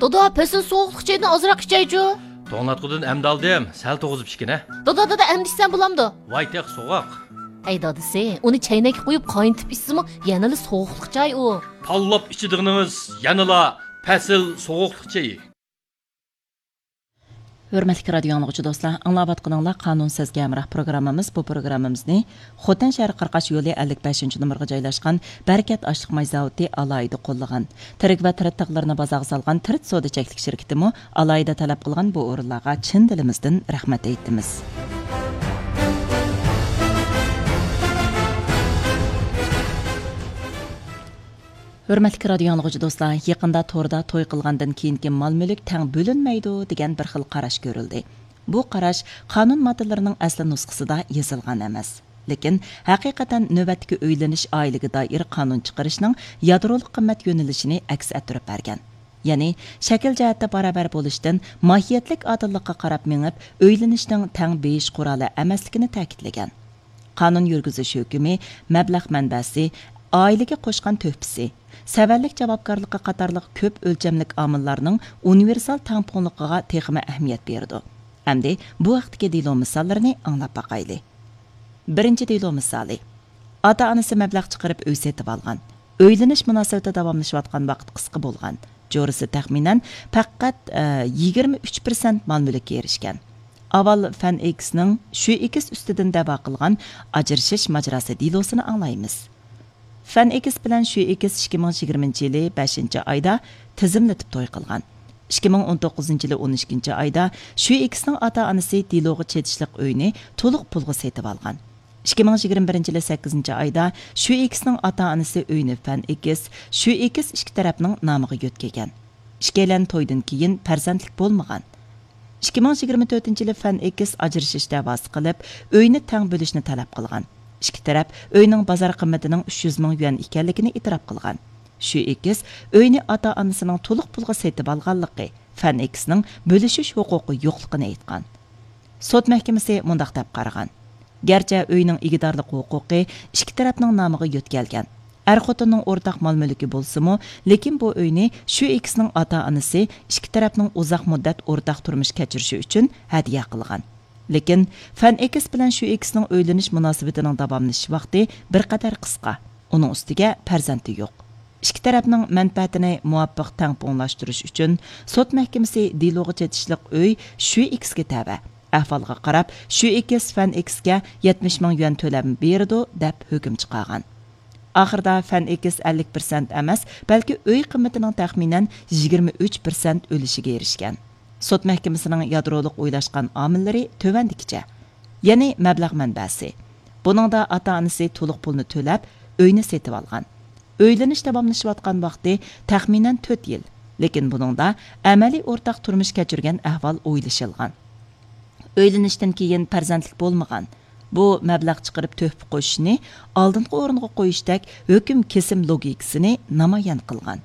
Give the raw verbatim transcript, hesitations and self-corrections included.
دادا، پەسىل سوغۇقلۇق چايدىن ئازراق ئىچەيچۇ. توڭلاتقۇدىن ئەمدى ئالدىم، سەل توغۇزۇپ ئىچكىنە. دادا، دادا، ئەمدى ئىچسەم بولامدۇ؟ ۋاي، تېخى سوغۇق. ئەي دادىسى، ئۇنى چەينەككە قۇيۇپ قاينىتىپ ئىچسىمۇ يەنىلا سوغۇقلۇق چاي ئۇ. پاللاپ ئىچىدىغىنىڭىز يەنىلا پەسىل سوغۇقلۇق چېيى. ھۆرمەتلىك رادىيو ئاڭلىغۇچى دوستلار، ئاڭلاۋاتقىنىڭلار قانۇن سىزگە ھەمراھ پروگراممىمىز. بۇ پروگراممىمىزنى خوتەن شەھىرى قاراقاش يولى ئەللىك بەشىنچى نومۇرغا جايلاشقان بەرىكەت ئاشلىق ماي زاۋۇتى ئالاھىدە قوللىغان. تىرىك ۋە تىرىت تاغلىرىنى بازارغا سالغان تىرىت سودا چەكلىك شىركىتىمۇ ئالاھىدە تەلەپ قىلغان بۇ ئورۇنلارغا چىن دىلىمىزدىن رەھمەت ئېيتىمىز. ھۆرمەتلىك رادىيو ئاڭلىغۇچى دوستلار، يېقىندا توردا توي قىلغاندىن كېيىنكى مال-مۈلۈك تەڭ بۆلۈنمەيدۇ دېگەن بىر خىل قاراش كۆرۈلدى. بۇ قاراش قانۇن ماددىلىرىنىڭ ئەسلى نۇسخىسىدا يېزىلغان ئەمەس. لېكىن ھەقىقەتەن نۆۋەتتىكى ئۆيلىنىش ئائىلىگە دائىر قانۇن چىقىرىشنىڭ يادرولۇق قىممەت يۆنىلىشىنى ئەكس ئەتتۈرۈپ بەرگەن. يەنى شەكىل جەھەتتە باراۋەر بولۇشتىن ماھىيەتلىك ئادىللىققا قاراپ مېڭىپ، ئۆيلىنىشنىڭ تەڭ بېيىش قورالى ئەمەسلىكىنى تەكىتلىگەن. قانۇن يۈرگۈزۈش ھۆكۈمى، مەبلەغ مەنبەسى، ئائىلىگە قوشقان تۆھپىسى، سەۋەنلىك جاۋابكارلىقى قاتارلىق كۆپ ئۆلچەملىك ئامىللارنىڭ ئۇنىۋېرسال تەڭپۇڭلۇقىغا تېخىمۇ ئەھمىيەت بېرىدۇ. ئەمدى بۇ ھەقتىكى دېلو مىساللىرىنى ئاڭلاپ باقايلى. بىرىنچى دېلو مىسالى. ئاتا-ئانىسى مەبلەغ چىقىرىپ ئۆي سېتىۋالغان. ئۆيلىنىش مۇناسىۋىتى داۋاملىشىۋاتقان ۋاقىت قىسقا بولغان. جورىسى تەخمىنەن پەقەت، ئە، يىگىرمە ئۈچ پىرسەنت مال-مۈلۈككە ئېرىشكەن. ئاۋۋال فەن ئېكسنىڭ شۈ ئېكس ئۈستىدىن دەۋا قىلغان ئاجرىشىش ماجىراسى دېلوسىنى ئاڭلايمىز. فەن ئېكس بىلەن شۈ ئېكس ئىككى مىڭ يىگىرمىنچى يىلى بەشىنچى ئايدا تىزىملىتىپ توي قىلغان. ئىككى مىڭ ئون توققۇزىنچى يىلى ئون ئىككىنچى ئايدا شۈ ئېكسنىڭ ئاتا-ئانىسى دېلوغا چېتىشلىق ئۆينى تولۇق پۇلغا سېتىۋالغان. ئىككى مىڭ يىگىرمە بىرىنچى يىلى سەككىزىنچى ئايدا شۈ ئېكسنىڭ ئاتا-ئانىسى ئۆينى فەن ئېكس، شۈ ئېكس ئىككى تەرەپنىڭ نامىغا يۆتكىگەن. ئىككىيلەن تويدىن كېيىن پەرزەنتلىك بولمىغان. ئىككى مىڭ يىگىرمە تۆتىنچى يىلى فەن ئېكس ئاجرىشىش دەۋاسى قىلىپ، ئۆينى تەڭ بۆلۈشنى تەلەپ قىلغان. ئىككى تەرەپ ئۆينىڭ بازار قىممىتىنىڭ ئۈچ يۈز مىڭ يۈەن ئىكەنلىكىنى ئېتىراپ قىلغان. شۈ ئېكس ئۆينى ئاتا-ئانىسىنىڭ تولۇق پۇلغا سېتىۋالغانلىقى، فەن ئېكسنىڭ بۆلۈشۈش ھوقۇقى يوقلۇقىنى ئېيتقان. سوت مەھكىمىسى مۇنداق دەپ قارىغان: گەرچە ئۆينىڭ ئىگىدارلىق ھوقۇقى ئىككى تەرەپنىڭ نامىغا يۆتكەلگەن، ئەر-خوتۇننىڭ ئورتاق مال-مۈلكى بولسىمۇ، لېكىن بۇ ئۆينى شۈ ئېكسنىڭ ئاتا-ئانىسى ئىككى تەرەپنىڭ ئۇزاق مۇددەت ئورتاق تۇرمۇش كەچۈرۈشى ئۈچۈن ھەدىيە قىلغان. لېكىن فەن ئېكس بىلەن شۈ ئېكسنىڭ ئۆيلىنىش مۇناسىۋىتىنىڭ داۋاملىشىش ۋاقتى بىر قەدەر قىسقا. ئۇنىڭ ئۈستىگە پەرزەنتى يوق. ئىككى تەرەپنىڭ مەنپەئەتىنى مۇۋاپىق تەڭپۇڭلاشتۇرۇش ئۈچۈن سوت مەھكىمىسى دېلوغا چېتىشلىق ئۆي شۈ ئېكسكە تەۋە. ئەھۋالغا قاراپ، شۈ ئېكس فەن ئېكسكە يەتمىش مىڭ يۈەن تۆلەم بېرىدۇ، دەپ ھۆكۈم چىقارغان. ئاخىرىدا فەن ئېكس ئەللىك پىرسەنت ئەمەس، بەلكى ئۆي قىممىتىنىڭ تەخمىنەن يىگىرمە ئۈچ پىرسەنت ئۈلۈشىگە ئېرىشكەن. سوت مەھكىمىسىنىڭ يادرولۇق ئويلاشقان ئامىللىرى تۆۋەندىكىچە. يەنى مەبلەغ مەنبەسى. بۇنىڭدا ئاتا-ئانىسى تولۇق پۇلنى تۆلەپ، ئۆينى سېتىۋالغان. ئۆيلىنىش داۋاملىشىۋاتقان ۋاقتى تەخمىنەن تۆت يىل. لېكىن بۇنىڭدا ئەمەلىي ئورتاق تۇرمۇش كەچۈرگەن ئەھۋال ئويلىشىلغان. ئۆيلىنىشتىن كېيىن پەرزەنتلىك بولمىغان. بۇ مەبلەغ چىقىرىپ تۆھپە قوشۇشنى ئالدىنقى ئورۇنغا قويۇشتەك ھۆكۈم كېسىم لوگىكىسىنى نامايان قىلغان.